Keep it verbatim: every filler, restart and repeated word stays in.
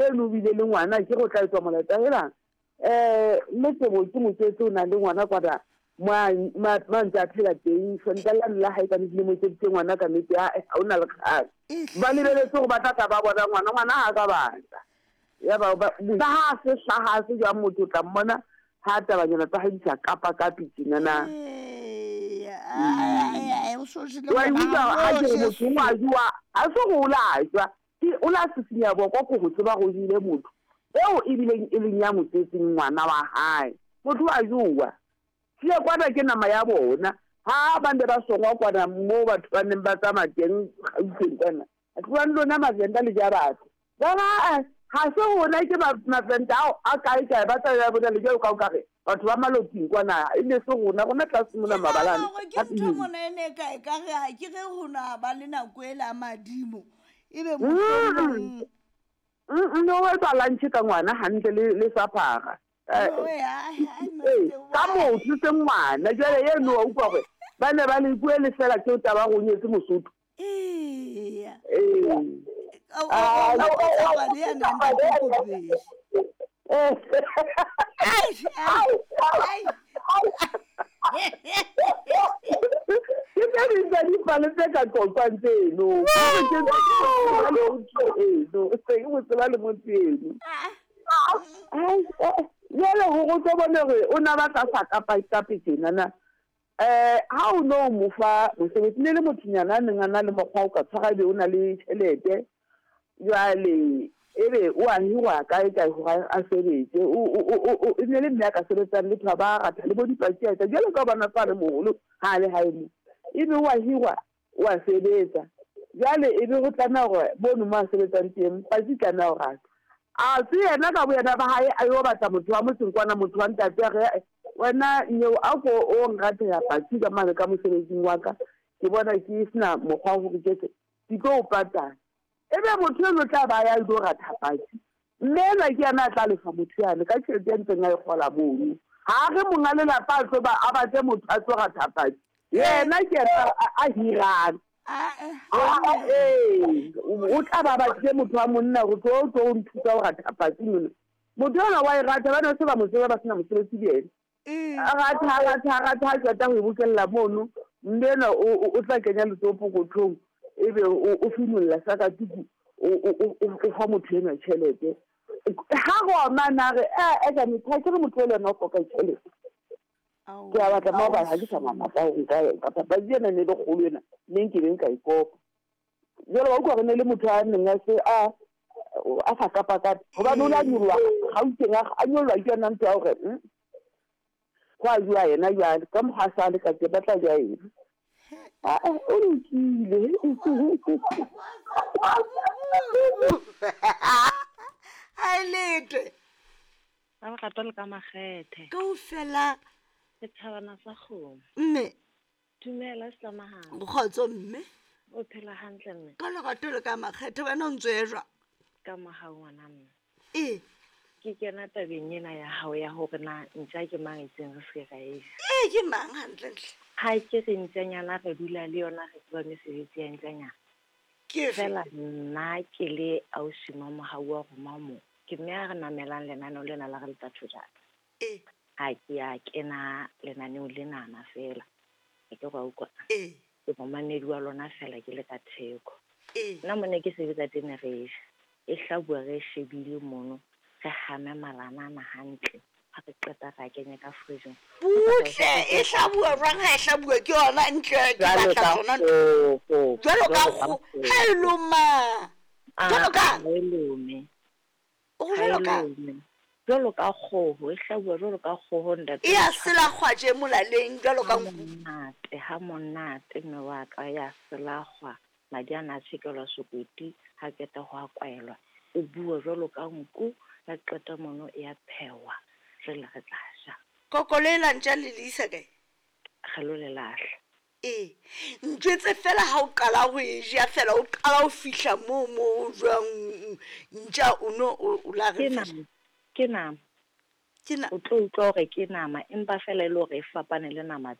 Eno o bile le ngwana, ke go tla etswa molaetsa helang. Um mme Tebo ke motswetse o na le ngwana kwana mo a mo a ntse a phela teng. Sontaha lane la hae ka nnete le mo etseditse ngwana ka nnete, ae ha o na le kgang. Ba lebeletse gore ba tla tla ba bona ngwana, ngwana ha a ka batla. Ya ba ba ha a se hlaha a se jwang motho o tla mmona ha tabanyana tsa hae di sa kapa kapi tjena na. Wa e utlwa ha ke re motho o a jowa, ha se hore o la jwa, ke o la sisinya boko ko ho tseba go jele motho eo ebileng e leng ya mo tswetseng ngwana wa hae. Motho wa jowa. Tsie kwana ke nama ya bona. Ha ba ne ba songwa kwana moo batho ba neng ba tsamaya teng Gauteng kwana. Tlohang lona Mavenda le ja batho. Ba re ha se rona ke Mavenda ao a kae kae ba tla bona le jwalo ka o ka re batho ba Maloting kwana e ne se rona rona tlase mona mabalane. Ke ntho mona e ne ka e ka re ha ke re ho na ba le nako e la madimo ebe mohlomong Mm no etsa lunch ka ngwana hantle le le saphara. Ka motho se ngwana jwale eno wa utlwa hore ba ne ba le bue le fela ke taba go nyetse Mosotho. Ee. Ee. Ke tse ding tsa dipale tse ka qoqwang tseno. Ke eno, se ke mo tseba le motho eno. Jwale hore o tlo bone hore o na batla sa kapa kape tjena na. Eh ha o no mo fa mosebetsi ne le mothonyana a neng a na le mokgwa o ka tshwara ebe o na le tjhelete. Jwale ebe o a hirwa kae kae hore a sebetse. O o o ne le mme a ka sebetsang le ba ratha le bo dipatsi a etsa jwalo ka bona fa le moholo ha le hae mo. Ebe o a hirwa o a sebetsa. Jwale ebe ho tlameha hore mono mo a sebetsang teng patsi tlameha ho rata. A se yena ka boyena ba hae a yo batla motho wa motseng kwana motho wa ntate a re wena nyeo a ko o nrathela patsi ka mane ka mosebetsing wa ka ke bona ke sena mokgwa wa hore ke etse ke tlo o patala. Ebe motho eno tla ba ya ilo ratha patsi mme ena ke yena a tla lefa motho yane ka tjhelete ya ntseng a e kgola mono. Ha re monga lelapa a tlo ba a batle motho a tlo ratha patsi yena ke yena a hirang. Ee, o tla ba batlile motho wa monna go tlo tlo nthusa ho ratha patsi mona. Motho ona wa e rata ba ne se ba mo tseba ba sena mosebetsi le yena. A ratha a ratha a ratha a qeta ho e bokella mono mme ena o tla kenya letsoho pokothong ebe o finolla sakatuku o fa motho enwa tjhelete. Ha roma na re eh ka motho ke re motho le yena o hloka tjhelete. Ke a batla mo ba ha ke sa matla ho nka ka papadi ena ne le kgolo ena ne nke be nka ikopa. Jwale wa utlwa re ne le motho a neng a se a a sa kapa kape hobane o la nyoloha Gauteng a nyoloha ke yona ntho ya hore ho a jwa yena jwale ka mokgwa a sa le ka teng ba tla jwa eng. Aa o lokile. Ha e letwe. Ka lerato le ka makgethe. Kaofela. Setjhabana sa kgomo. Mme. Dumela Slamahang. Kgotso mme. O phela hantle mme. Ka lerato le ka makgethe wena o ntso e jwang? Ka mohau ngwana mme. Ee. Ke kena tabeng ena ya hao ya hore na ntja ke mang itseng re se ra e ja. Ee ke mang hantlentle? Ha ke re ntjanyana re dula le yona re tseba mesebetsi ya ntjanyana. Ke fela nna ke le ausi Mamohau wa roma mo. Ke mme a re namelang lenaneo lena la re letsa thojana. Ee. Ha ke a kena lenaneo lenana fela. Ke ke go utlwa. Ee. Ke momamedi wa lona fela ke le ka theko. Ee. Nna mone ke sebetsa teng re ja. E hlabuwa re shebile mono. Re hame malana hantle. Ha re qeta ra kenya ka fridge. Butle e hlabuwa jwang ha e hlabuwa ke yona ntle ke batla tsona. Jwalo ka kgo. Ha e loma. Jwalo ka. Ha e lome. O jwalo ka. Jwalo ka kgoho, e hlabuwa jwalo ka kgoho ntate. E a selakgwa tje molaleng jwalo ka nku. Monate, ha monate mme wa ka ya selakgwa. Madi ana a tjhekelwa sekoti ha qeta ho a kwaelwa. O bua jwalo ka nku, ha qeta mono e a phehwa. Jwale re tla ja. Koko le la ntja le le isa kae? Re lo le lahla. Ee. Ntjwetse fela ha o qala ho e ja fela o qala ho fihla moo mo jwang ntja o no o la re Ke nama. Ke nama. Ke na O tlo utlwa hore ke nama empa fela e le hore e fapane le nama